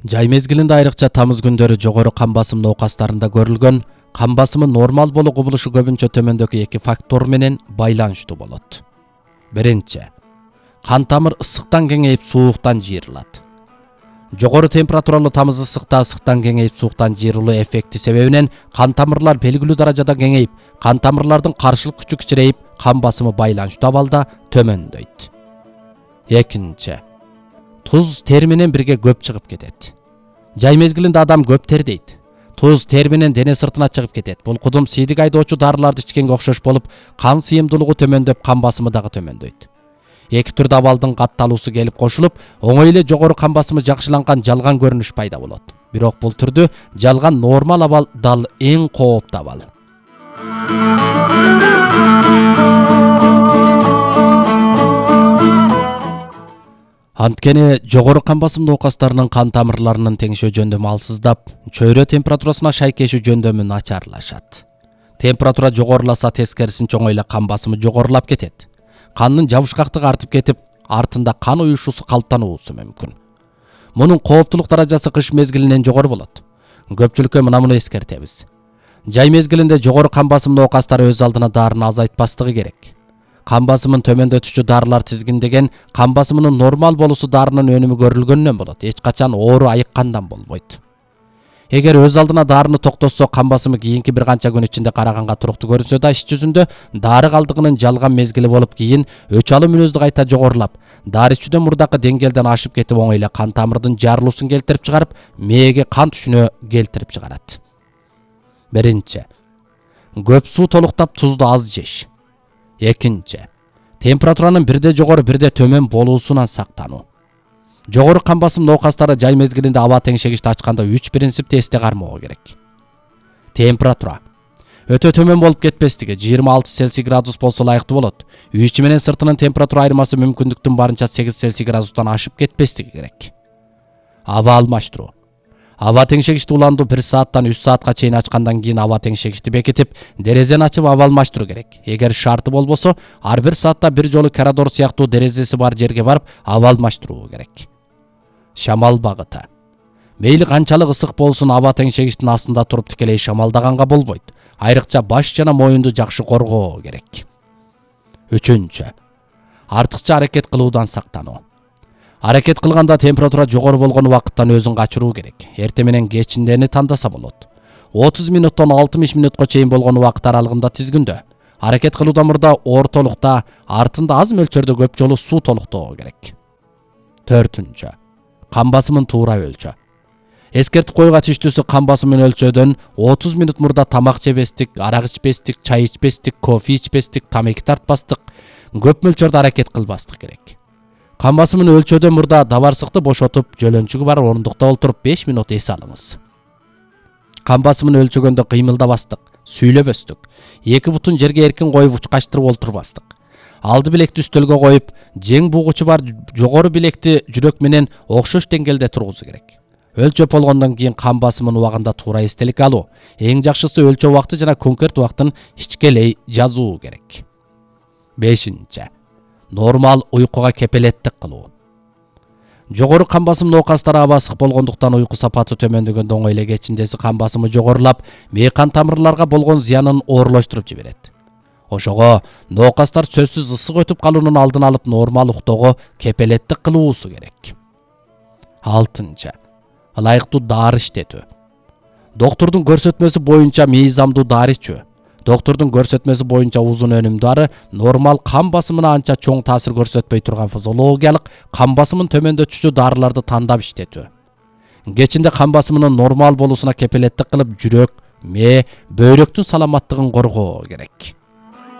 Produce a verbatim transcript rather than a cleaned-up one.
Жай мезгилинде айрыкча тамыз күндөрү жогору кан басым науқастарында көрүлгөн кан басымы нормал болуу кубулушу көбүнчө төмөндөгү эки фактор менен байланыштуу болот. Биринчи, кан тамыр ысыктан кеңейип сууктан жыйрылат. Жогору температуралуу тамыз ысыкта ысыктан кеңейип сууктан жыйрылуу эффекти себебинен кан тамырлар белгилүү даражада кеңейип, кан тамырлардын каршылык күчү кичирейип, кан басымы байланыштуу абалда төмөндөйт. Экинчи, туз тери менен бирге көп чыгып кетет. Жай мезгилинде адам көп тердейт. Туз тери менен дене сыртына чыгып кетет. Бул кудум сийдик айдоочу дарыларды ичкенге окшош болуп, кан сыйымдуулугу төмөндөп, кан басымы дагы төмөндөйт. Эки түрдүү абалдын катталуусу келип кошулуп, оңой эле жогору кан басымы жакшыланган жалган көрүнүш пайда болот. Бирок бул түрдү жалган нормал абал дал эң кооптуу абал. Анткени жогору кан басым науқастарынын кан тамырларынын теңшөө жөндөмү алсыздап, чөйрө температурасына шайкешүү жөндөмү начарлашат. Температура жогоруласа тескерисинче оңой эле кан басымы жогорулап кетет. Кандын жабышкактыгы артып кетип, артында кан уюшуусу калыптануусу мүмкүн. Мунун кооптулук даражасы кыш мезгилинен жогору болот. Көпчүлүккө мына муну эскертебиз. Жай мезгилинде жогору кан басым науқастары өз алдына дарыны азайтпастыгы керек. Кан басымын төмөндөтүүчү дарылар тизгиндеген кан басымынын нормал болуусу дарынын өнүмү көрүлгөндөн болот. Эч качан оору айыккандан болбойт. Эгер өз алдына дарыны токтотсо, кан басымы кийинки бир канча күн ичинде караганга туруктуу көрүнсө да, иш жүзүндө дары калдыгынын жалган мезгили болуп, кийин өч алуу мүнөздү кайта жогорулап, дары ичүүдөн мурдакы деңгээлден ашып кетип, оңой эле кан тамырдын жарылуусун келтирип чыгарып, мээге кан түшүнө келтирип чыгарат. Биринчи, көп суу толуктап тузду аз жеш. Экинчи, температуранын бирде жогору бирде төмөн болуусунан сактануу. Жогору кан басым науқастары жай мезгилинде аба теңшегичти ачканда үч принципти эсте кармоо керек. Температура өтө төмөн болуп кетпестиги, жыйырма алты Цельсий градус болсо ылайыктуу болот. Үй ичи менен сыртынын температура айырмасы мүмкүндүктүн барынча сегиз Цельсий градустан ашып кетпестиги керек. Аба алмаштыруу. Аба теңшегичти уландуу бир сааттан үч саатка чейин ачкандан кийин аба теңшегичти бекитип, дерезени ачып аба алмаштыруу керек. Эгер шарты болбосо, ар бир саатта бир жолу коридор сыяктуу дерезеси бар жерге барып аба алмаштыруу керек. Шамал багыты. Мейли канчалык ысык болсун, аба теңшегичтин астында туруп тикелей шамалдаганга болбойт. Айрыкча баш жана моюнду жакшы коргоо керек. Үчүнчү, артыкча аракет кылуудан сактануу. Аракет кылганда температура жогору болгон убакыттан өзүн качыруу керек. Эрте менен кечиндени тандаса болот. отуз мүнөттөн алтымыш мүнөткө чейин болгон убакыт аралыгында тизгиндөө. Аракет кылуудан мурда ортолукта, артында аз мөлчөрдө көп жолу суу толуктоо керек. Төртүнчү, кан басымын туура өлчө. Эскертип койгоч иштүүсү кан басымын өлчөөдөн отуз мүнөт мурда тамак жебестик, арак ичпестик, чай ичпестик, кофе ичпестик, тамеки тартпастык, көп мөлчөрдө аракет кылбастык керек. Кан басымын өлчөөдөн мурда дабарсыкты бошотуп, жөлөнчүгү бар орундукта олтуруп беш мүнөт эс алыңыз. Кан басымын өлчөгөндө кыймылдабастык, сүйлөбөстүк, эки бутун жерге эркин коюп учкачтырып олтурбастык. Алды билекти үстөлгө коюп, жең бугучу бар жогору билекти жүрөк менен окшош деңгээлде тургузу керек. Өлчөп болгондон кийин кан басымын убагында туура эстелик алуу. Эң жакшысы өлчөө убакты жана конкрет убактын ичкелей жазуу керек. Бешинчи, нормал уйкуга кепелеттик кылуу. Жогору кан басым науқастары аба ысык болгондуктан уйку сапаты төмөндөгөндө оңой эле кечиндеси кан басымы жогорулап, мээ кан тамырларга болгон зыянын оорлоштуруп жиберет. Ошого науқастар сөзсүз ысык өтүп калуунун алдын алып, нормал уктоого кепелеттик кылуусу керек. Алтынчы, ылайыктуу дары иштетүү. Доктурдун көрсөтмөсү боюнча мыйзамдуу дары ичүү. Доктурдун көрсөтмөсү боюнча узун өнүм дары нормал кан басымына анча чоң таасир көрсөтпөй турган физиологиялык кан басымын төмөндөтүүчү дарыларды тандап иштетүү. Кечинде кан басымынын нормал болуусуна кепелеттик кылып, жүрөк, мээ, бөйрөктүн саламаттыгын коргоо керек.